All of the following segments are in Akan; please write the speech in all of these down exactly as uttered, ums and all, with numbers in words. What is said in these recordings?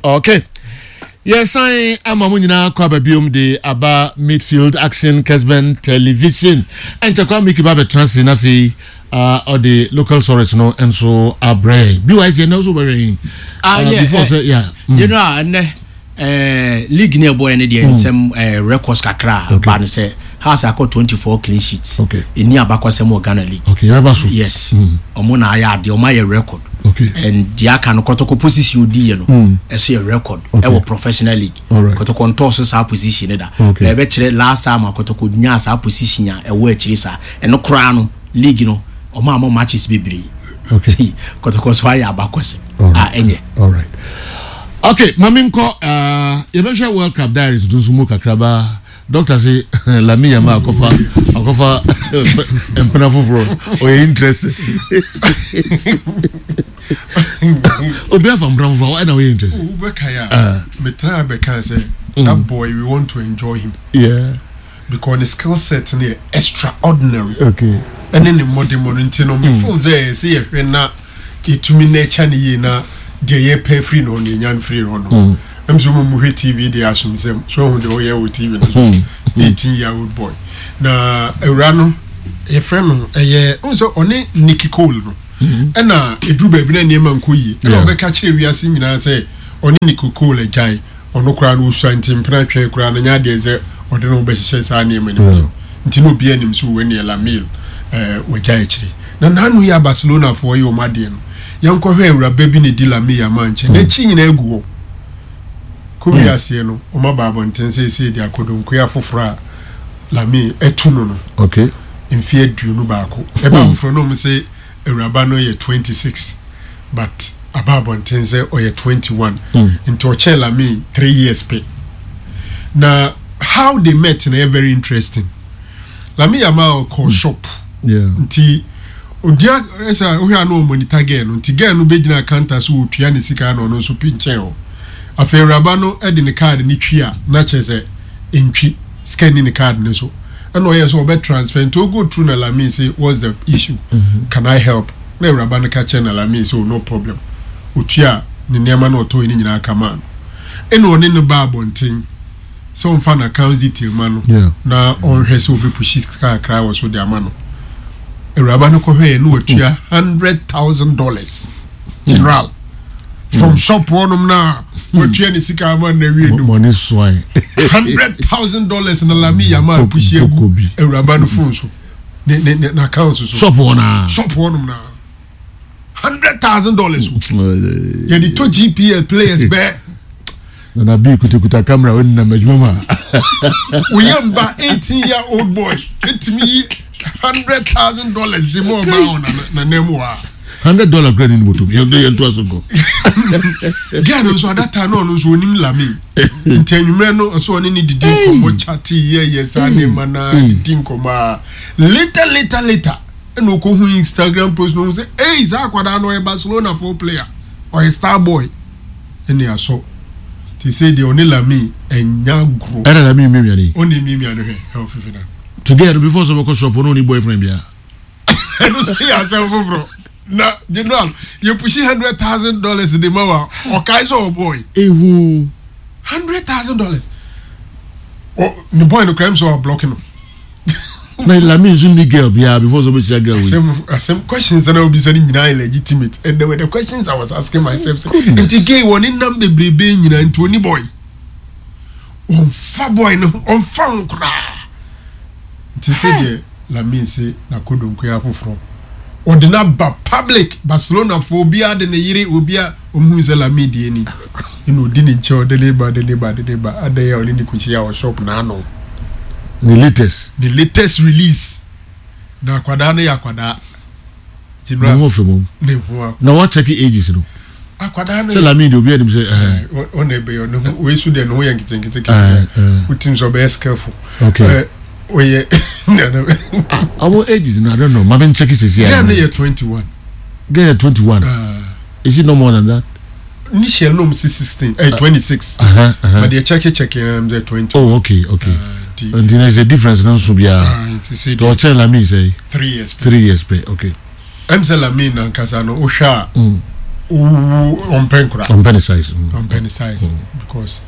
Okay, yɛsan ama mo nyinaa kɔ aba biom de aba Midfield Action, Kesben Television. Ɛnkyɛ kwa Miki ba bɛtena se na afei uh, ɔde local stories no nso abrɛ byt. Ɛnɛ nso wobɛhwɛ yi. Ah, uh, yeah, before eh, sɛ yeah mm. You know, ɛnɛ eh, league ne ɛbɔɛ no deɛ, nsɛm eh, records kakra a Okay. ba no sɛ Hearts akɔ twenty-four clean sheets. Okay. Ɛni abakɔsɛm wɔ Ghana league. Okay, yɛbɛba so. Yes, ɔmo na ayɛ adeɛ, ɔmo ayɛ record. Okay. And deɛ aka no, Kɔtɔkɔ position odi yɛ no ɛso yɛ record Okay. ɛwɔ professional league. Alright. Kɔtɔkɔ ntɔɔ so saa position ne da. Okay. Na ɛbɛkyerɛ last time a Kɔtɔkɔ nyaa saa position a ɛwɔ akyire saa ɛno koraa no, league no ɔmo ama matches bebree. Okay. Kɔtɔkɔ so ayɛ abakɔsɛm Alright. a ɛnyɛ. Alright, okay, maame nkɔ uh, yɛbɛhwɛ World Cup diaries no nso mu kakraba. Doctor se Lamine Yamal akɔfa akɔfa mpena foforɔ, ɔyɛ interest. Obi afa mpena foforɔ ɛna ɔyɛ interest. Wobɛkae a, metena bɛka sɛ that boy, we want to enjoy him yeah because the skill set no yɛ extraordinary. Okay ɛne ne mmɔdemmɔ no nti no, mefeel sɛ sɛ yɛhwɛ na yɛtumi na ɛkya ne yie na deɛ yɛpɛ firi no hɔ no, yɛnya no firi hɔ no. Ɛm sɛ mo hwɛ T V deɛ asom sɛm so ahu deɛ ɔyɛ wɔ T V no so, eighteen year old boy na awura no yɛfrɛ no ɛyɛ ɔhu sɛ ɔne Nicky Cole no ɛna ɛduru baabi na nneɛma nkɔ yie ɛna Yeah. ɔbɛka kyerɛ wiase nyinaa sɛ ɔne Nicky Cole agyae. Ɔno koraa no ɔsua nti mpena twɛn koraa no nyɛ adeɛ sɛ ɔde ne ho bɛhyehyɛ saa nneɛma no mu. Nti na obiara nim sɛ wɔn neɛ Lamine ɛɛ wɔgya akyire na n'ano yɛ a Barcelona foɔ yɛ wɔn adeɛ no. Yɛnkɔhwɛ awuraba bi na di Lamine Yamal nkyɛn n'akyi nyinaa egu hɔ kɔ wiaseɛ no. Wɔn aba abɔnten sɛ esi de akɔdɔnkoa foforɔ a Lamine ɛtu no no okay mfe aduonu baako. Ɛba foforɔ no, wɔn sɛ awuraba no yɛ twenty six, but aba abɔnten sɛ ɔyɛ twenty one, nti ɔkyɛn Lamine three years pɛ. Na how they met na yɛ very interesting. Lamine Yamal kɔ shop yeah nti ogyina ɛsɛ wohwɛ a na ɔmonitor girl no, nti girl no bɛgyina counter so wɔtua ne sika na ɔno nso pi nkyɛn hɔ. Afei awuraba no de ne card ne twi a na kyerɛ sɛ ntwi sika ni ne card ne so, ɛna ɔyɛ sɛ ɔbɛ transfer nti o go through na Lamine say, "What's the issue? mm -hmm. Can I help?" Na awuraba no ka kyerɛ na Lamine say, "Oh, no problem." Otua ne nneɛma na ɔtɔ yi ne nyinaa kama no, ɛna ɔne no ba abɔnten sɛ ɔmfa n'account detail ma no Yeah. na ɔnhwɛ sɛ ɔbɛpush sika kakra wɔ so de ama no. Awuraba no kɔhwɛ yɛ no, watua hundred thousand dollars, general, from shop hɔnom na watua ne sika ama no awie no. Money swine. Hundred thousand dollars na Lamine Yamal push egu Poko bi. awuraba no phone so, ne ne ne n'account so. Shop hɔ naa. Shop hɔnom na hundred thousand dollars o, yɛde to G P L players bɛɛ. Nana bi kutakuta camera wɔn nam adwuma mu a. Oyɛ mba eighteen year old boys etimi yi hundred thousand dollars di mu ɔbaa wɔ na na mu wa. Hundred dollar kura ni ni moto yɛn yɛn to aso nkɔ. Girl no nso, at that time no, ɔno nso onim Lamine, nti anwummerɛ no ɔsɛ ɔne ne didi nkɔmmɔ, chat yɛ yɛ saa nneɛma na didi nkɔmmɔ a, later later later ɛna ɔkɔhu Instagram post no, ɔhu sɛ ei, saa akwadaa no ɔyɛ Barcelona fo player, ɔyɛ star boy, ɛne asɔ te sɛ deɛ ɔne Lamine ɛnya agorɔ. Ɛna Lamine mi miani. Ɔne miamia no hwɛ ɛwɔ fifi na. Together before sɛ ɔbɛkɔ shop no, ɔni boyfriend bia. Ɛno nso yɛ asɛm foforɔ na general yɛ push hundred thousand dollars de ma wa, ɔkae sɛ ɔbɔy. Ehu. Hundred thousand dollars, ɔ ne boy no kura mi sɛ ɔblock no. Na Lamine nso ni girl bia before sɛ ɔbɛhyia girl wei. Asɛm asɛm questions na obisa ne nyinaa yɛ legitimate, and there were the questions I was asking myself sɛ Goodness. nti gay wɔ ne nam bebrebe nyinaa nti oni boy, ɔnfa boy no, ɔnfa ho koraa. Nti sɛ deɛ Lamine se n'akodonkoya foforɔ ɔde n'aba public, Barcelona fo obiara de ne yere, obiara ɔmuhu sɛ Lamine deɛ ni, ɛna odi ne nkyɛn, ɔde ne ba, ɔde ne ba, ɔde ne ba adan a ɔne ne kɔhyia wɔ shop n'ano. Ne latest. The latest release na akwadaa no yɛ akwadaa. Ne ho fɛ mom. Ne ho a. Na wa check ages no. Akwadaa no sɛ Lamine deɛ obi anim sɛ ɛɛ. Ɔna ɛbɛyɛ ɔne ho wei so deɛ ne ho yɛ nketenkete Ɛɛ, ketewa. ɛɛ. Wotim sɛ ɔbɛyɛ skillful. Okay. Ɛ, ɔyɛ ɔmo ages no, I don't know, maame n check sisi girl a. no yɛ twenty one. Girl yɛ twenty one. Is it no more than that? Initial no mo si sixteen, ɛ, twenty six. Uh-huh, uh-huh. But deɛ check check yɛn sɛ twenty. Oh, okay okay nti nti na sɛ difference no nso biara. Ah, nti sɛ deɛ ɔkyɛn Lamine sɛ three years. Three years pɛ, okay. Ɛm sɛ Lamine nankasa no, wohwɛ a Mm. Ɔmpɛ nkora. Ɔmpɛ ne size. Ɔmpɛ ne size because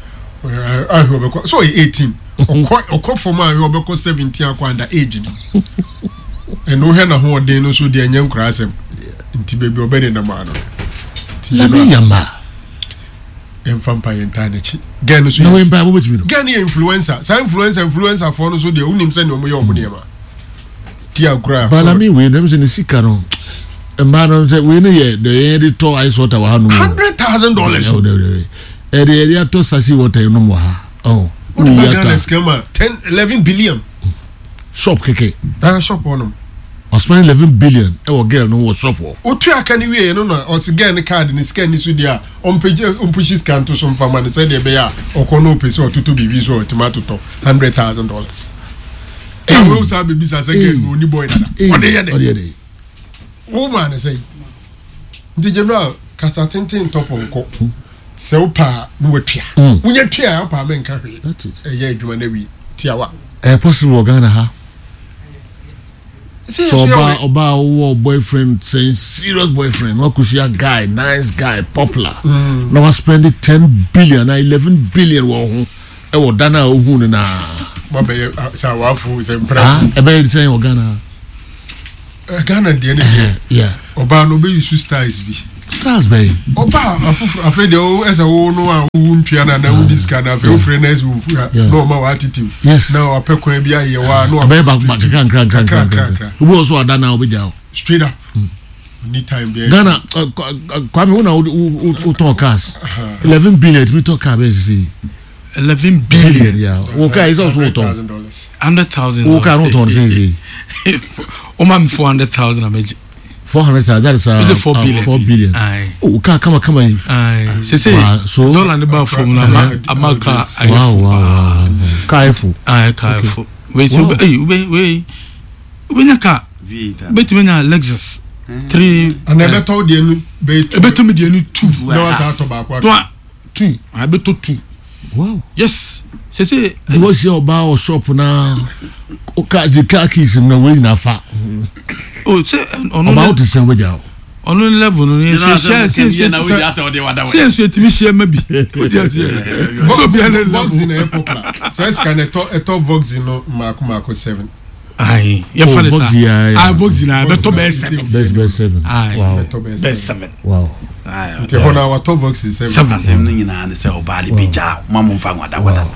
ahwɛ ɔbɛkɔ so ɔyɛ eighteen ɔkɔ ɔkɔ fam a ahwɛ ɔbɛkɔ seventeen akɔ under age no ɛna wohwɛ n'ahoɔden no so deɛ ɛnyɛ nkora asɛm nti baabi ɔbɛ ne nam ano. Lamine Yamal. Yɛmfa mpa yɛn ntaa n'akyi. Girl no so na wɔn mpa bɔ bɛtumi no. Girl no yɛ influencer saa influencer influencer foɔ no so deɛ wonim sɛ nea wɔn yɛ wɔn nneɛma ti agorɔ a. Balami wei no ɛmu sɛ ne sika no mmaa no sɛ wei no yɛ deɛ yɛn de tɔ ice water wɔ ha nom. hundred thousand dollars. Ɛde yɛde atɔ sachet water yɛn nom wɔ ha. O de ba Ghana sika ma ten eleven billion. Shop keke. Ah shop hɔ nom. Ɔspend eleven billion ɛwɔ girl no wɔ shop hɔ. Otua aka no wieɛ no na ɔse girl no card no sika nni so deɛ a ɔmpagya ɔmpushi sika nto so mfa ma no sɛdeɛ ɛbɛyɛ a ɔkɔ na ɔpɛ sɛ ɔtotɔ biribi nso a ɔtumi atotɔ hundred thousand dollars. Na wo saa bɛbisa sɛ girl no ɔni boy dada ɔde yɛ dɛ wo maa no sɛn nti general kasa tenten ntɔ pɔnkɔ sɛ wopɛ a na watua wonya tua a wopɛ a menka hwee ɛyɛ adwuma no awie tiawa. Ɛyɛ possible wɔ Ghana ha? Sɛ ɔbaa ɔbaa wowɔ boyfriend sɛ serious boyfriend na wakɔhyia guy nice guy popular mm. na waspend ten billion na eleven billion wɔ ho ɛwɔ da no a ohu no naa. Wabɛyɛ sɛ awafo sɛ mpira. Ɛbɛyɛ sɛ wɔ Ghana. Ghana deɛ ne deɛ ɔbaa no ɔbɛyi su styles bi. Stars bɛyɛ. Ɔbaa afoforo afei deɛ o ɛsɛ wo no a wowu ntua na na wodi sika na afei wofrɛ na ɛsɛ wofu na ɔma wa attitude. Yes. Na wapɛ kwan bi ayɛ wa na wapɛ baako baako kakra nkra nkra nkra nkra. Obi wɔ so ada na ɔbɛgya o. Straight up. Ni time bi. Ghana Kwame wo na wo tɔn cars eleven billion etumi tɔ car bɛyɛ sisi. Eleven billion. Yeah. Wo car is also tɔn. Hundred thousand. Wo car no tɔn sisi. O ma mi four hundred thousand ameji. Four hundred thousand. That is uh, four billion. Uh, four billion. Aye. Oh, car kama kama yi. Aye. Sese. So dollar ne ba fam na ama ama car ayɛ Wow wow wow. Car efo. Aye car efo. Wait so hey we we we nya car. Betumi nya Lexus. Three. Ana ɛbɛtɔ deɛ no bɛyɛ two. Ɛbɛtɔ mi deɛ no two. Na wasa atɔ baako aka. Two. Ɛbɛtɔ two. Wow. Yes. Sese. The wọ́n ṣe ọba ọ shop na car di car keys na wọ́n nyina fa. O ṣe ọ̀nà ọba o ti sẹ́n wọ́n jà o. Ọ̀nà level no yẹn so ṣe ṣe ṣe ṣe nso etimi ṣe ẹmẹ bi. O di ẹti yẹ. So bi ẹni level. Voxy na ẹ popular. Sẹ sika na ẹtọ ẹtọ Voxy no mako mako seven. Ayi yẹ fa ne sa. Ayi Voxy na ẹbẹ tọ bẹẹ seven. Bẹẹ bẹẹ seven. Ayi Ẹtọ bẹẹ seven. Wow. Nti ɛhɔ na watɔ Voxy seven. Seven. Asɛm no nyinaa ne sɛ ɔbaa de bɛgya wo ma mo mfa nwadakwada.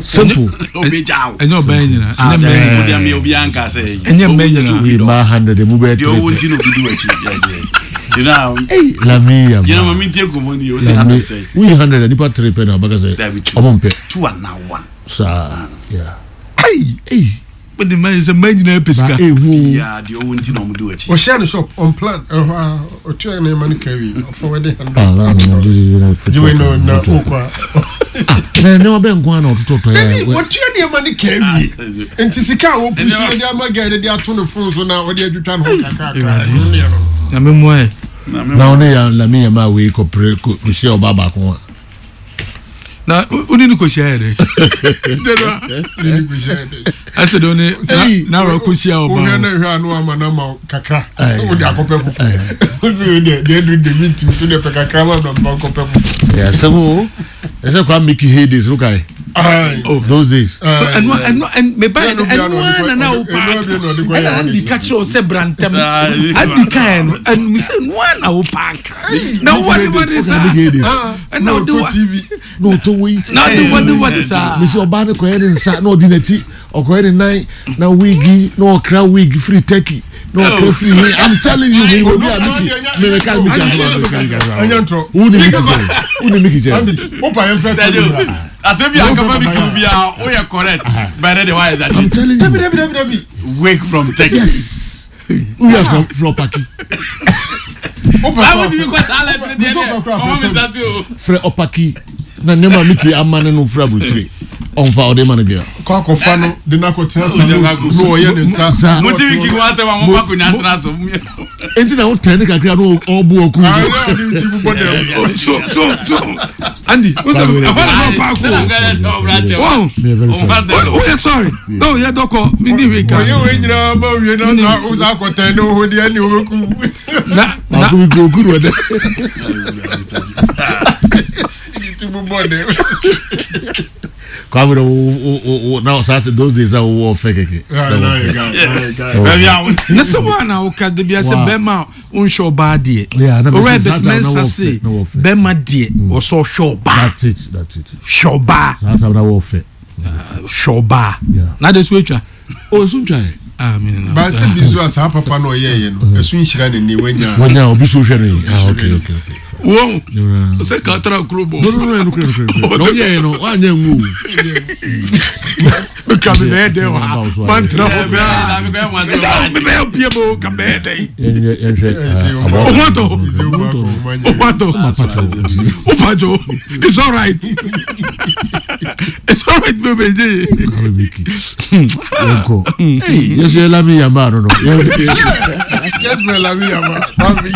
Simple. Ɔbɛgya wo. Ɛnyɛ ɔbaa nyinaa. Ɛnyɛ mmɛ nyinaa. Wode amea obiara nka sɛ Ɛnyɛ mmɛ nyinaa. Wei ma hundred emu bɛyɛ Deɛ ɔwɔ three. nti na obi di w'akyi. You know, Hey, Lamine you know, Yamal. mami tie nkɔmmɔ ni o sɛ Lamine hundred sɛ. woyi hundred a nipa three pɛ na ɔbɛka sɛ Dabi two. ɔmo mpɛ Two and now one. saa. Yeah. Ayi. Hey, O de mmaa yi sɛ mmaa nyinaa pɛ ba sika. ehu. Yeah, deɛ ɔwɔ nti na ɔmo di w'akyi. Ɔhyɛ ne shop on plan ɛhɔ a ɔtua ne ma no carry ɔfɔ hundred Ah, la, no, this is not Gye no na okɔ a. Na nneɛma bɛn nko ara na ɔtotɔ tɔ Dabi yɛ. wɔtua nneɛma no carry nti sika a wɔpusi ɔde ama girl no de ato ne phone so na ɔde atwitwa ne ho kakrakra ɛno ne ɛno no. Nyame mmoa yɛ. Na ɔne ya Lamine Yamal wei kɔ pere kɔ hyia ɔbaa baako a. Na o ni ni ko hyia yɛ dɛ. Ne ne kɔhyia yɛ dɛ. Ɛsɛ de o ni na na ko hyia Wohwɛ ɔbaa na o. hwɛ a na wama no ama wo kakra wode akɔpɛ foforɔ wosi wei deɛ deɛ aduru deɛ mentimi so deɛ pɛ kakra ma na mfa nkɔpɛ foforɔ Yeah, asɛm o. Ɛsɛ kwa Mickey heydays no kae. Aye. Those days. So ɛnu ɛnu ɛnu mɛ ba yɛ Ɛnu ɛnu bia na ɔde na na kɔ- o ɛnu paaki bia na ɔde kɔ yɛ ɛna andi holiday. ka kyerɛ o sɛ brantɛm andi ka yɛ no ɛnu mi sɛ ɛnu na o paaki na wadi wadi saa Mickey heydays. Ah, ɛna na ɔde ɔtɔ wa T V. Na ɔtɔ wei. na ɔde wadi wadi saa. Mesi ɔbaa no kɔyɛ ne nsa na ɔdi n'akyi ɔkɔyɛ ne nan na wigi na ɔkra wig firi Turkey na ɔkra firi he. I'm telling you, mi obi a Mickey mi mi ka Mickey asoma mi ka Mickey asoma. Ɛnyɛ ntorɔ. Wo ni Mickey jɛ wo ni Mickey jɛ. Andy, wopa yɛn frɛ Dabi Tony bra. ate bi akama bi kiw bi a o yɛ correct. Bɛrɛ de wa yɛ I'm zati. telling Dabi you. dabi dabi dabi. Wake from Texas. Yes. Who are from from Opaki? Wopa Awo ti mi kɔ saa lɛ tiri deɛ deɛ ɔmɔ mi zati o. Frɛ Opaki na nneɛma Mickey ama ne no fira aburukyire ɔnfa ɔde ma no bia. Kɔ akɔfa no de no akɔtena salon na ɔyɛ ne nsa. Sa- Mo ti mi kí wọn asɛm a mo ba ko nya tena so. Enti na wotɛn ne kakra na ɔbu ɔku. So so so Andy, o sɛ ɛhɔ na ma paako o. O yɛ sorry. No yɛ dɔkɔ mi ni wi kan. Oyɛ wo nyinaa ma wie na sa o sa akɔtɛn ne ho deɛ ne wobɛku. Na na Baako bi kuro kuro ɛdɛ. Ti bu bɔ dɛ. Kwame wo wo wo na saa those days na wo wɔ fɛ kɛkɛ. Na sɛ wo ana woka de bia sɛ Wow. bɛrima a wonhwɛ ɔbaa deɛ. Yeah, na Owura mesi saa Bet time na Mensa wɔfɛ, se na wɔfɛ. bɛrima deɛ ɔsɛ ɔhwɛ ɔbaa. That's it, that's it. Hwɛ ɔbaa. Saa time na wɔ fɛ. Hwɛ ɔbaa. Yeah. Na de so atwa. O esu ntwa yɛ. Ah, me na. Baasi bi nso a saa papa na ɔyɛɛyɛ no ɛso nhyira ne ni wanya. Wɔnya obi so hwɛ no yi. Ah, okay, okay, okay. Wɔn. No, Sɛ katra kuro bɔ. no, no, no, no, no, no. Ɔyɛ yɛ no, wanyɛ ngu o. Mekura mi bɛyɛ dɛ wɔ ha. Mantra hɔ koraa. Mi bɛyɛ pie mo ka bɛyɛ dɛ yi. Yɛn yɛn hwɛ. Owó atɔ. Owó atɔ. Mapatɔ. Opajo, it's all right. It's all right, baby. Kwame Miki. Yɛnkɔ. Hey, yɛsɛ yɛ Lami Yamba no no. Kɛsibɛ Lami Yamba. Mami.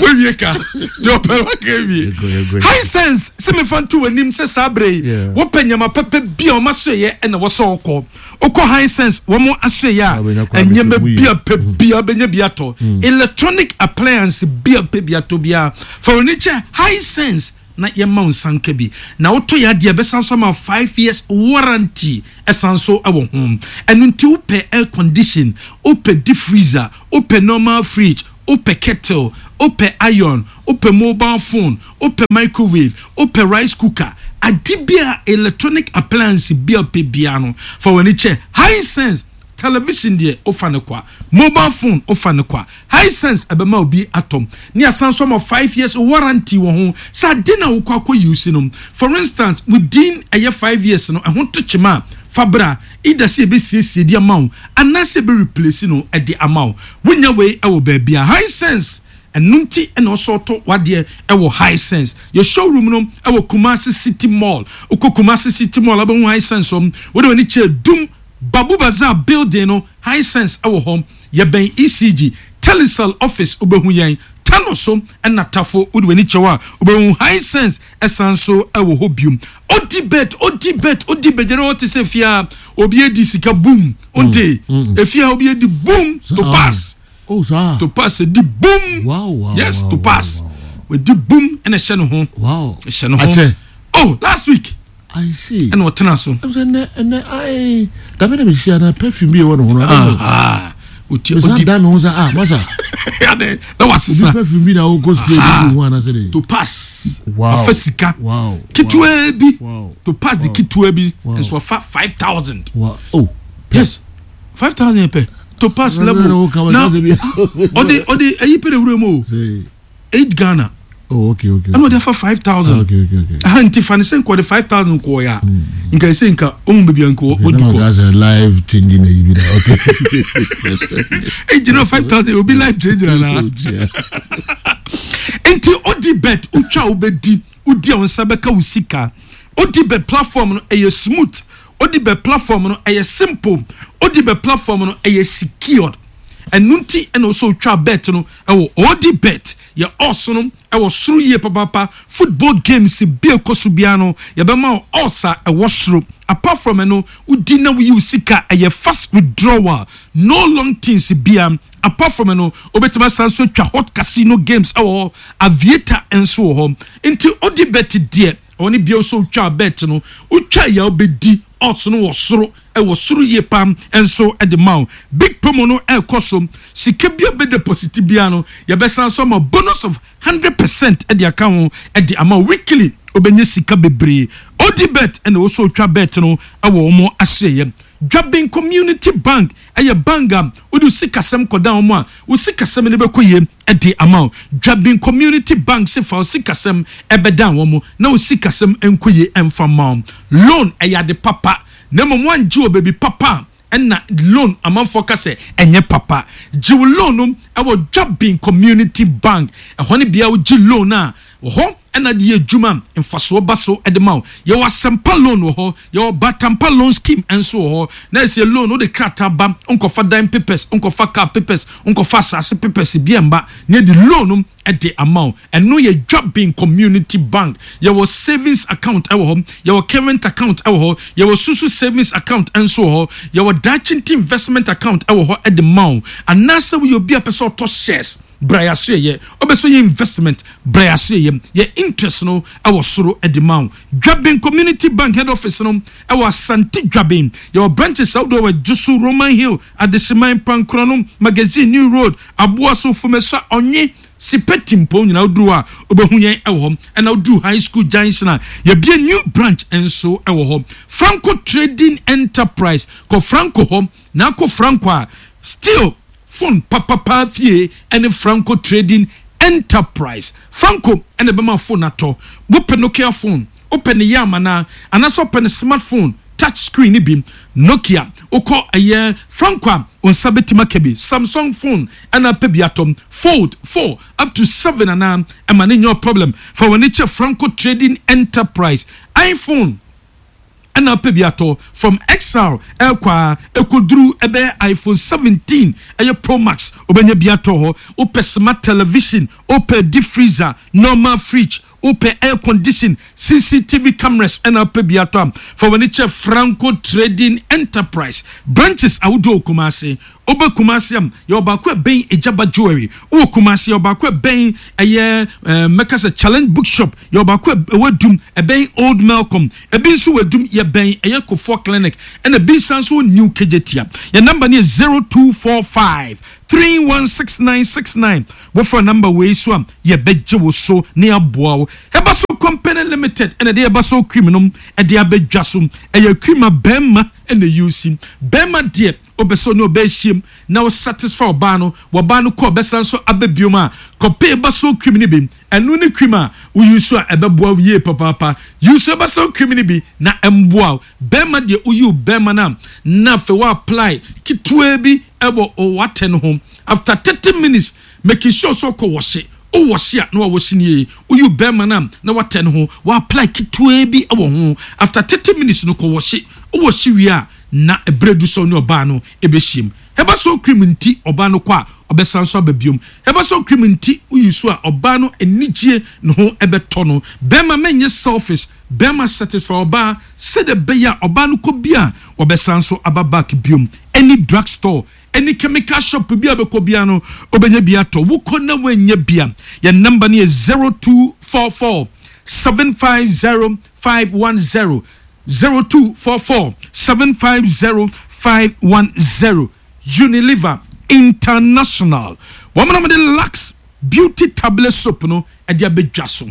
Wewie ka deɛ ɔpɛ wa ka ewie. Yɛnkɔ, yɛnkɔ. Hisense sɛ mefa nto w'anim sɛ saa berɛ yi Yeah. wopɛ nyama pɛpɛ bi a ɔma soɛyɛ ɛna wɔsɛ wokɔ wokɔ Hisense wɔn asoɛyɛ a Wobɛnya kwan ɛnyɛma bɛsɛ mu bi yie. a pɛ bia bɛnya bi atɔ, electronic appliance bi a pɛ bi atɔ biara, fa w'ani kyɛ Hisense na yɛma wo nsanka bi na wotɔ yɛ adeɛ bɛsan so ama wo five years warranty ɛsan so ɛwɔ ho. Ɛno nti wopɛ air condition, wopɛ deep freezer, wopɛ normal fridge, wopɛ kettle, wopɛ iron, wopɛ mobile phone, wopɛ microwave, wopɛ rice cooker, ade bi a electronic appliance bi a wopɛ biara no, fa w'ani kyɛ Hisense. Television deɛ, wofa ne kwa, mobile phone wofa ne kwa, Hisense ɛbɛma obi atɔm ne asan so ama five years warranty wɔ ho sɛ ade na wokɔ akɔ use no, for instance, within ɛyɛ five years no ɛho to kyema a, fa bra, either sɛ yɛbɛsiesie de ama wo anaasɛ yɛbɛ replace no ɛde ama wo. Wonya wei ɛwɔ baabi a Hisense. Ɛno nti ɛna ɔsɔ ɔtɔ wadeɛ ɛwɔ Hisense. Yɛ showroom no ɛwɔ Kumasi City Mall. Wokɔ Kumasi City Mall, abɛhu Hisense wɔm. Wode w'ani kyerɛ Dum Babu Bazaar building no, Hisense ɛwɔ hɔ. Yɛbɛn E C G Telecel office, wobɛhu yɛn Tano so ɛna Tafo. Wode w'ani kyɛw a, wobɛhu Hisense ɛsan so ɛwɔ hɔ biom. Odi bet, odi bet, odi bet gyina hɔ te sɛ fia obi edi sika boom onte efia obi edi boom to pass. Oh, saa. To pass edi boom. Wow, wow, Yes, wow, to wow, pass wow, wedi boom ɛna ɛhyɛ ne ho. Wow. Ɛhyɛ ne ho. Akyɛ. Oh, last week. I see. Ɛna ɔtena so. Ɛm sɛ ɛnɛ ɛnɛ ayi dabe na mehyia na perfume bi wɔ ne ho no. Ah, oti Mesa odi dan me ho sɛ, ah, masa. Ade na Obi wasesa. perfume bi na wokɔ spray bi gu ho anasɛ de. To pass. Wow. Wafa sika Wow. ketewa bi. Wow. To pass de ketewa bi Wow. nso wafa five thousand. Wow. Oh. Yes, five thousand pɛ to pass level na ɔde ɔde ɛyi pɛ de wura mu o. Say. Eight Ghana. Oh, okay, okay. Ɛna ɔde afa five thousand. Okay, okay, okay. Aha nti fa ne sɛ nka ɔde five thousand kɔɔ ya nka ɛsɛ nka ɔmu baabi a nka Okay, ɔdi now kɔ. that's a life changing na you be. Okay. Egyina five thousand obi life change na na. Yeah. Nti odi bet, wotwa wobɛdi, wodi a wo nsa bɛka wo sika. Odi bet platform no ɛyɛ smooth, odi bet platform no ɛyɛ simple, odi bet platform no ɛyɛ secured. Ɛno nti ɛna ɔsɛ otwa bet no ɛwɔ odi bet. Yɛ odds no ɛwɔ soro yie papaapa. Football games bi a ɛkɔ so biara no, yɛbɛma wo odds a ɛwɔ soro. Apart from ɛno, wodi na woyi wo sika, ɛyɛ fast withdrawal, no long things bia. Apart from ɛno, wobɛtumi asan so atwa hot casino games ɛwɔ hɔ, aviator nso wɔ hɔ. Nti odi bet deɛ, ɔne bia nso wotwa bet no, wotwa yɛ wobɛdi, odds no wɔ soro, ɛwɔ soro yie pam nso ɛde ma wo. Big promo no ɛrekɔ so. Sika bi a bɛ deposit bia no, yɛbɛsan so ama bonus of hundred percent ɛde aka ho ɛde ama wo. Weekly wobɛnya sika bebree. Odi bet ɛna wɔsɔ otwa bet no ɛwɔ wɔn aseɛ. Dwabin Community Bank ɛyɛ bank a wode wo sikasɛm kɔda wɔn a, wo sikasɛm no bɛkɔ yie ɛde ama wo. Dwabin Community Bank sɛ fa wo sikasɛm ɛbɛda wɔn na wo sikasɛm nkɔ yie ɛmfa ma wo. Loan ɛyɛ ade papa, na mmom wangye wɔ baabi papa a, ɛna loan amanfoɔ ka sɛ ɛnyɛ papa. Gye wo loan no ɛwɔ Dwabin Community Bank. Ɛhɔ ne bea wogye loan a wɔ hɔ. Ɛna de yɛ adwuma, mfasoɔ ba so de ma wo. Yɛwɔ Asɛmpa Loan wɔ hɔ, yɛwɔ Batampa Loan Scheme nso wɔ hɔ. Na ɛsɛ loan wode krataa ba, nkɔfa dan papers, nkɔfa car papers, nkɔfa asase papers bi mba na yɛde loan no de ama wo. Ɛno yɛ Dwabin Community Bank. Yɛwɔ savings account ɛwɔ hɔ, yɛwɔ current account ɛwɔ hɔ, yɛwɔ susu savings account nso wɔ hɔ, yɛwɔ Dakyinti investment account ɛwɔ hɔ ɛde ma wo. Anaasɛ woyɛ obi a pɛ sɛ ɔtɔ shares, brayaso yɛ ɔbɛ so yɛ investment, brayaso yɛ yɛ interest no ɛwɔ soro ɛde ma wo. Dwabin Community Bank head office no ɛwɔ Asante Dwabin. Yɛwɔ branches ahodoɔ wɔ Jusu, Roman Hill, Adesiman, Pankrono, Magazine, New Road, Aboaso, Fomesa, Ɔnye Sipɛ, Timpo nyinaa. Woduru a wobɛhu yɛn ɛwɔ hɔ. Ɛna woduru High School Junction a, yɛbie new branch nso ɛwɔ hɔ, Franco Trading Enterprise. Kɔ Franco hɔ na akɔ Franco a still phone papapa fie ɛne Franco Trading Enterprise. Franco ɛna ɛbɛma phone atɔ. Wopɛ Nokia phone, wopɛ ne yam anaa anaasɛ wopɛ ne smartphone touch screen ni bi, Nokia, wokɔ ɛyɛ Franco a, wo nsa bɛtumi aka bi. Samsung phone ɛna pɛ bi atɔm, Fold four up to seven anaa, ɛma ne nyɛ problem. Fa w'ani kyɛ Franco Trading Enterprise. iPhone ɛna pɛ bi atɔ, from X R ɛkɔ a ɛkɔduru ɛbɛyɛ iPhone seventeen ɛyɛ Pro Max, wobɛnya bi atɔ hɔ. Wopɛ smart television, wopɛ deep freezer, normal fridge, wopɛ air condition, C C T V cameras ɛna wopɛ bi atɔ a, fa w'ani kyɛ Franco Trading Enterprise. Branches ahodoɔ wɔ Kumase. Wobɛ Kumase am, yɛwɔ baako ɛbɛn Egyaba Jewelry. Wowɔ Kumase, yɛwɔ baako ɛbɛn ɛyɛ ɛɛ mɛka sɛ Challenge Bookshop. Yɛwɔ baako ɛwɔ Dum, ɛbɛn Old Melcom. Ebi nso wɔ Dum, yɛbɛn ɛyɛ Kofoɔ Clinic, ɛna ebi nsan nso wɔ New Kejetia. Yɛn number no yɛ zero two four five three one six nine six nine. Wɔfra number wei so a, yɛbɛgye wo so ne aboa wo. Ɛba So Company Limited ɛna ɛde Ɛba So cream nom ɛde abɛdwa so. Ɛyɛ cream a bɛrima ɛna ɛyi bɛrima deɛ wobɛ sɛ ɔne ɔbɛ ahyiam na wo satisfy ɔbaa no, wɔbaa no kɔ ɔbɛsan so aba biom a, kɔpɛ Ɛba So cream no bi. Ɛno ne cream a woyi so a ɛbɛboa wo yie papaapa. Yi so Ɛba So cream no bi na ɛmboa wo. Bɛrima deɛ, woyi wo bɛrima no a, na afei wo apply ketewa bi ɛwɔ ɔwatɛ no ho. After thirty minutes, making sure sɛ ɔkɔ wɔhye, wowɔhye a na wawɔhye nie. Woyi bɛrima no a na watɛ no ho, wa apply ketewa bi ɛwɔ ho. After thirty minutes no, kɔ wɔhye. Wowɔhye wie a, na ɛberɛ du sɛ ɔne ɔbaa no ɛbɛhyiam. Ɛba So cream nti, ɔbaa no kɔ a, ɔbɛsan so aba biom. Ɛba So cream nti, woyi so a, ɔbaa no anigye ne ho ɛbɛtɔ no. Bɛrima, mɛnyɛ selfish. Bɛrima, satisfy ɔbaa sɛdeɛ ɛbɛyɛ a ɔbaa no kɔ bi a, ɔbɛsan so aba back biom. Any drug store, any chemical shop bi a bɛkɔ bia no, wobɛnya bi atɔ. Wokɔ na woanya bia, yɛn number no yɛ zero two four four seven five zero five one zero, zero two four four seven five zero five one zero. Unilever International, wɔn na wɔde Lux Beauty Tablet Soap no ɛde abɛdwa so.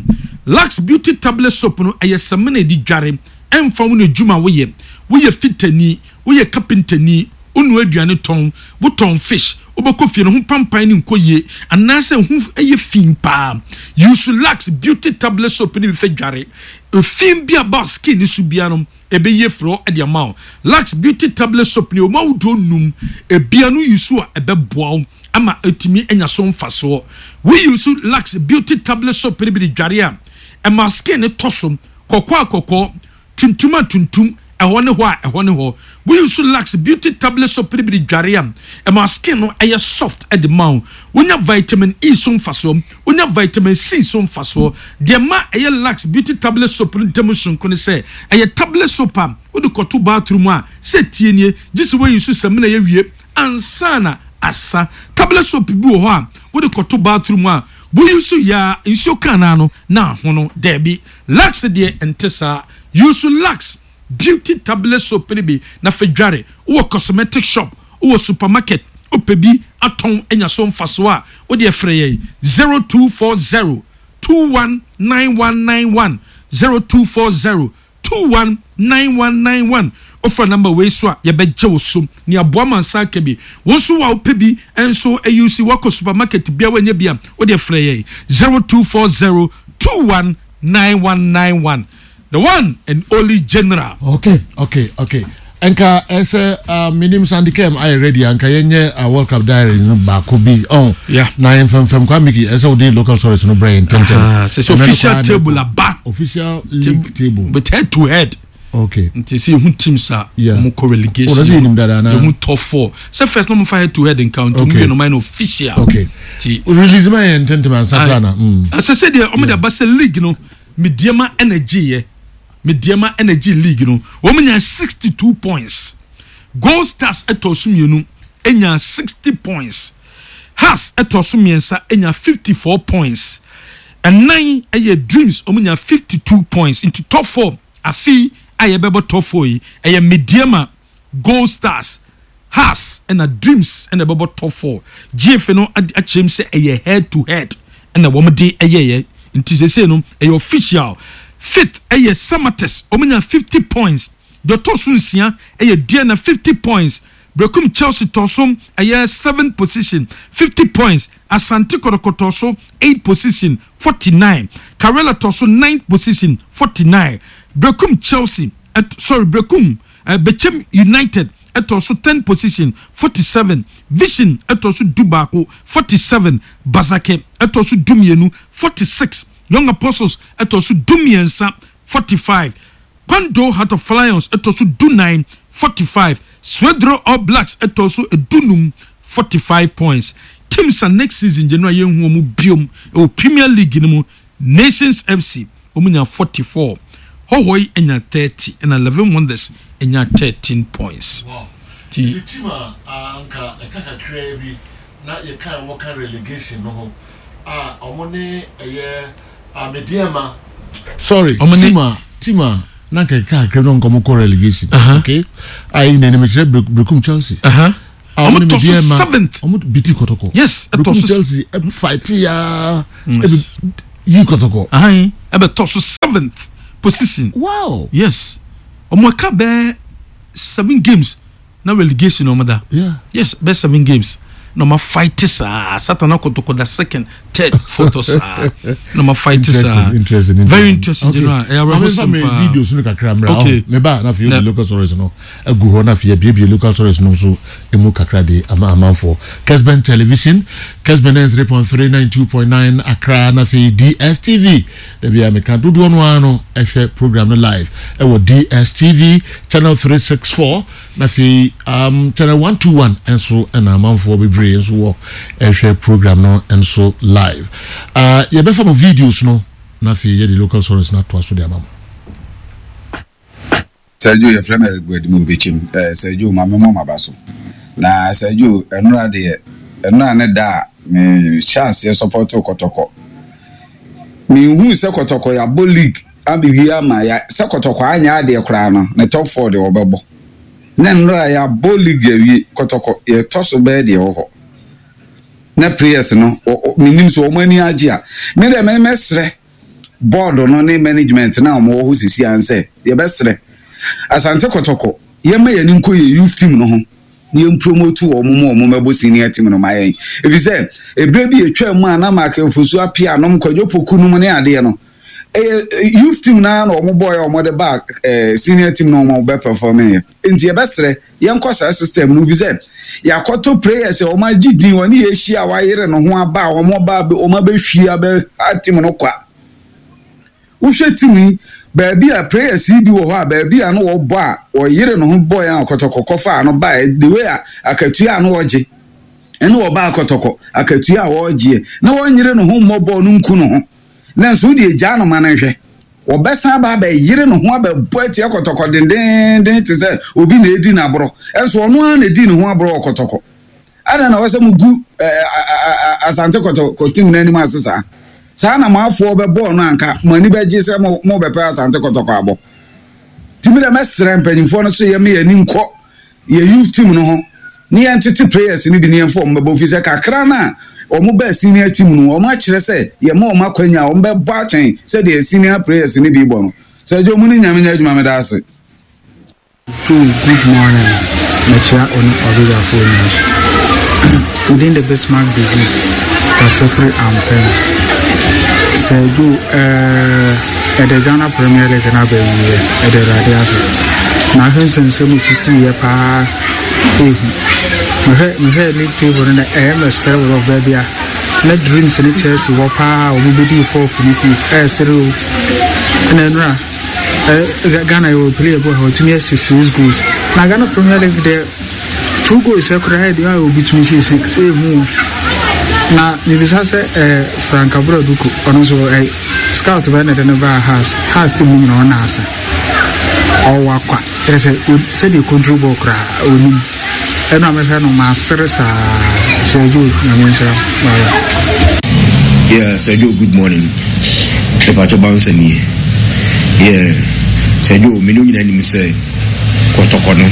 Lux Beauty Tablet Soap no ɛyɛ samina edi dware. Ɛnfa wo na edwuma woyɛ, woyɛ fitani, woyɛ kapentani, wonu aduane tɔn, wotɔn fish, wobɛkɔ fie no ho pampan ne nkɔ yie anaasɛ ho ɛyɛ fi paa, use Lux Beauty Tablet Soap ne bi fɛ dware. Efin bi aba skin ne so bia no, ɛbɛyie frɛ ɛde ama wo. Lux Beauty Tablet Soap ne ɔmo ahodoɔ num ebia no, use a, ɛbɛboa wo ama etumi anya so mfasoɔ. We use Lux Beauty Tablet Soap ne bi de dware a, ɛma skin ne tɔ so kɔkɔɔ a kɔkɔɔ, tuntum a tuntum, ɛhɔ ne hɔ a ɛhɔ ne hɔ. We use Lux Beauty Tablet Soap ne bi de dware a, ɛma skin no ɛyɛ soft ɛde ma wo. Wonya vitamin E so mfasoɔ, wonya vitamin C so mfasoɔ. Deɛ ma ɛyɛ Lux Beauty Tablet Soap no ntam sonko ne sɛ ɛyɛ tablet soap a wode kɔto bathroom a, sɛ tie nie, gye sɛ woayi so samina yɛ wie ansa na asa. Tablet soap bi wɔ hɔ a wode kɔto bathroom a, woyi so yaa nsuo kaa naa no na ahono. Daabi, Lux deɛ nte saa. Use Lux Beauty Tablet Soap no bi na fɛ dware. Wowɔ cosmetic shop, wowɔ supermarket, wopɛ bi atɔn anya so mfasoɔ a, wode ɛfrɛ yɛn zero two four zero two one nine one nine one, zero two four zero two one nine one nine one. Wofra number wei so a, yɛbɛgye wo so ne aboa ma nsa aka bi. Wo nso wa wopɛ bi nso ayi si wakɔ supermarket bia wanya bi a, wode frɛ yɛn zero two four zero two one nine one nine one. The one and only general. okay okay okay Nka ɛsɛ uh, menim Sandy Kem ayɛ ready a, nka yɛnyɛ uh, World Cup diary no baako bi ɔn Yeah. na yɛmfɛmfɛm kwa Miki ɛsɛ wode local stories no brɛ yɛn ntɛmtɛm. Ah, sɛ sɛ Ɛno no official koraa ne- table aba. Official league table. But head to head. Okay. Nti sɛ yɛhu teams a Yeah. ɔmo kɔ relegation. Oh, that's yɛnim dada anaa? Yɛhu top four. Sɛ first na ɔmo fa head to head nka nti ɔmo Okay. yɛ no ɔmo ayɛ no official. Okay. Nti release ma yɛn ntɛmtɛm ansa koraa na mm. ɛsɛ sɛ deɛ ɔmo de aba sɛ league no, Medeama energy yɛ Medeama energy league no, wɔn nya sixty two points. Gold Stars ɛtɔ so mmienu, enya sixty points. Hearts ɛtɔ so mmiɛnsa, enya fifty four points. Ɛnan ɛyɛ Dreams, wɔn nya fifty two points. Nti top four afi a yɛbɛbɔ top four yi ɛyɛ Medeama, Gold Stars, Hearts ɛna Dreams ɛna ɛbɛbɔ top four. G F A no ad- akyerɛ mu sɛ ɛyɛ head to head ɛna wɔn de ɛyɛyɛ, nti sese no ɛyɛ official. Fifth ɛyɛ Samartex, wɔn nya fifty points. Deɛ ɔtɔ so nsia ɛyɛ Aduana, fifty points. Berekum Chelsea tɔ so ɛyɛ seventh position, fifty points. Asante Kɔtɔkɔ tɔ so eight position, forty nine. Karela tɔ so ninth position, forty nine. Berekum Chelsea ɛt sorry, Berekum uh, Bechem United ɛtɔ so ten position, forty seven. Vision ɛtɔ so du baako, forty seven. Basake ɛtɔ so du mmienu, forty six. Young Apostles ɛtɔ so du mmiɛnsa, forty five. Kwando Heart of Lions ɛtɔ so du nine, forty five. Swedro All Blacks ɛtɔ so edunum, forty five points. Teams a next season gye no a yɛnhu wɔn biom ɛwɔ Premier League no mu: Nations F C, wɔn nya forty four. Hohoe nya thirty, ɛna Eleven Wonders nya thirteen points. Ti the team a anka ɛka kakraa bi na yɛka wɔka relegation no ho a ɔmo ne ɛyɛ Medeama, sorry, Ɔmo ne- team a team a na nka ɛka kakraa bi na nka ɔmo kɔ relegation. Uh-huh. Okay, a yi na anim kyerɛ Berekum Chelsea. Uh-huh. A ɔmo Ɔmo ne tɔ so Medeama seventh. Ɔmo biti Kɔtɔkɔ. Yes, ɛtɔ Berekum so Chelsea ɛ fight ya ɛbi yi Kɔtɔkɔ. Ahan, ɛbɛtɔ so seventh position. Wow. Yes, ɔmo aka bɛɛ seven games na relegation ɔmo da. Yeah. Yes, bɛɛ seven games na ɔmo fight saa satan akɔtɔkɔ da second, third, fourth saa na ɔmo fight saa. Interesting, interesting. Very interesting. Okay. General, ɛyɛ Maame awerɛhosɛm nfa mi paa. videos no kakra mmerɛ. Okay. Okay. Meba na afei Na- yɛde local stories no agu hɔ na afei yɛbiebie local stories no nso emu kakra de ama amanfoɔ. Kesben Television, Kesben N three point three nine two point nine Accra, na afei D S T V. Dabi a meka dodoɔ no ara no ɛhwɛ program no live ɛwɔ D S T V channel three six four, na afei um, channel one two one nso ɛna amanfoɔ bebree nso wɔ ɛhwɛ program no nso live. Uh, yɛbɛfa mo videos no na afei yɛde local stories no atoa so de ama mo. Sergio, yɛfrɛ me Eric Boadum Obɛkyim. eh, Sergio, ma memmɔ maba so na Sergio, ɛnora deɛ, ɛnora ne da a mehyɛ aseɛ support Kɔtɔkɔ. Menhuu sɛ Kɔtɔkɔ yɛabɔ league abɛwie ama ya sɛ Kɔtɔkɔ anyɛ adeɛ koraa no, ne top four deɛ wɔbɛbɔ. Na nnora yɛabɔ league awie, Kɔtɔkɔ yɛtɔ so bɛyɛ deɛ wɔ hɔ na players no ɔ- ɔ- menim sɛ wɔn ani agye a, me deɛ me mɛsrɛ board no ne management na wɔn wɔ hɔ sisi ansɛ yɛbɛsrɛ Asante Kɔtɔkɔ, yɛma yɛn ani nkɔ yɛ youth team no ho na yɛn promote wɔn mu, wɔn mɛbɔ senior team no ma yɛn, efi sɛ ebire bi etwa mu a na Mark Nfosu apia nom Kwadwo Poku nom ne adeɛ no, ɛyɛ youth team naa na wɔn bɔɔ yɛ wɔn de ba ɛɛ senior team na wɔn bɛ perform yɛ. Nti yɛbɛsrɛ yɛnkɔ saa system no, fi sɛ yɛakɔtɔ players a wɔn agye din, wɔn ne yɛahyia a wɔayere ne ho aba a wɔn ba wɔn abɛhwie abɛ ha team no kwa. Wohwɛ team yi, baabi a players yi bi wɔ hɔ a, baabi a no wɔbɔ a wɔyere ne ho bɔ yɛn a Kɔtɔkɔ kɔfa ano ba, the way a akatua a no wɔgye ɛne wɔba Akɔtɔkɔ akatua a wɔregyeɛ na wɔnyere ne ho mmɔ bɔɔl no nku ne ho, na nso wode agyaa no ma no nhwɛ, wɔbɛsan aba abɛyere ne ho abɛbɔ atia Kɔtɔkɔ dendenden te sɛ obi na edi n'aborɔ, ɛnso ɔno ara na edi ne ho aborɔ wɔ Kɔtɔkɔ. Ada na wɔsɛ mo gu ɛɛ Asante Kɔtɔkɔ team n'anim ase saa saa na mo afoɔ bɛbɔɔ no, anka mo ani bɛgye sɛ mo mo bɛpɛ Asante Kɔtɔkɔ abɔ. Timi dɛ mɛsrɛ mpanyinfoɔ no so yɛ me yɛn ani nkɔ yɛ youth team no ho ne yɛn tete players no bi ne yɛn fɔ wɔn bɛbɔ, fi sɛ kakra no a wɔn bɛɛ senior team no, wɔn akyerɛ sɛ yɛn ma wɔn akwanya a wɔn bɛbɔ akyɛn sɛdeɛ senior players no bi bɔ no. Sɛ ɛdwo mu ne Nyame nyɛ adwuma, meda ase. Joe, good morning. Mekyia ɔne ɔbɛdwafoɔ nyinaa. Within the Bismarck busy, Kasafiri Ampem. Sɛ Joe, ɛɛ, ɛde Ghana Premier League na abɛwie, ɛde Awurade ase. Na ahwɛ nsɛmsɛm osisiiɛ paa ehu. Mehwɛ mehwɛ league table no na ɛyɛ mɛsrɛ wɔ baabi a na Dreams ne Chelsea wɔ paa a wɔn bɛdii fourth ne fifth ɛɛsere o. Ɛna nnura ɛ Ghana yɛ wɔ player bi wɔ ha ɔtumi asi six goals. Na Ghana Premier League deɛ two goals ɛkora ɛdeɛ a obi tumi si six ehu o. Na mebisa sɛ ɛɛ Frank Abura Duku ɔno nso ɛ scout bɛyɛ na ɛde no baa Hearts Hearts team no nyinaa ɔna ase ɔwɔ akwa kyerɛ sɛ sɛdeɛ control ball koraa onim ɛna mehwɛ no maasere saa Sir Joe Nyame nhyira bye. Yeah, Sir Joe, good morning. Mepakyɛ bouncer nie. Yeah, Sir Joe, me ne wo nyinaa nim sɛ kɔtɔkɔ no.